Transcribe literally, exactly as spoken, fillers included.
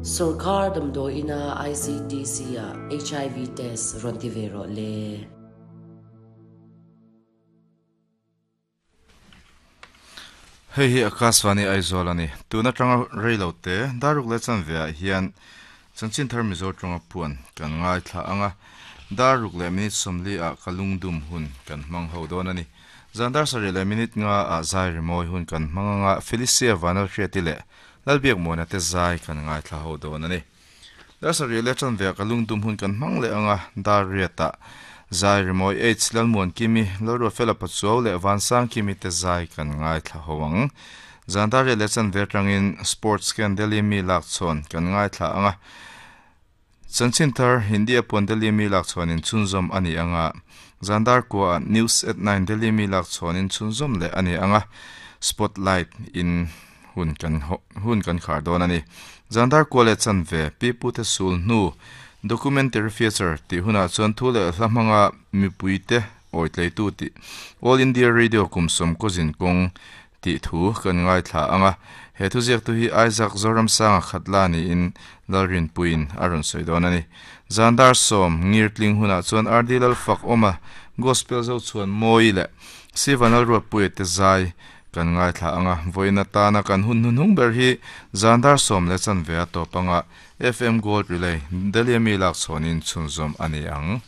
Sorkar damdawi ina I C T C ah H I V test rawn ti ve rawh le. Hei hi Akashvani Aizawl a ni. Tun atanga reilo te daruk leh chanve ah hian chanchin thar Mizo tawnga puan kan ngaithla anga, daruk leh minute sawmli ah ka lungdum hun kan hmang ho dawn a ni. Zandar sarih leh minute nga ah zai rimawi hun kan hmang anga, Felicia Vanal Hriati leh Lalbiak Muana te zai kan ngaithla ho dawn a ni. Dar sarih leh chanve ah ka lungdum hun kan hmang leh anga, dar riat ah zai rimawi H Lalmuan Kimi, Lalruatfela Pachuau leh Vansang Kimi te zai kan ngaithla ho ang. Zandar riat leh chanve atangin Sports Scan Delhi mi lak chhawn kan ngaithla anga, chanchin thar Hindi a puan Delhi mi lak chhuanin chhunzawm a ni anga, zandar kua News at nine Delhi mi lak chhuanin chhunzawm leh a ni anga, Spotlight in hun kan hun kan khar dawn a ni. Zandar kua leh chanve pi pute sul hnu documentary feature tih hunah chuan thu leh hla hmanga mipuite awitleitu tih All India Radio kum sawm kawzin kawng tih thu kan ngaithla anga, he thu ziak tu hi Isaac Zoramsanga khatla niin Lalrin puin a rawn sawi dawn a ni. Zandar sawm ngirtling hunah chuan R D Lalfak awma gospel zo chuan mawi leh Sivanal Ruatpuia te zai kan ngaithla anga, vawiin atana kan hun hnuhnung ber hi zandar sawm leh chanve a tawp anga, F M Gold Relay Delhi mi lak chhawnin chhunzawm a ni ang.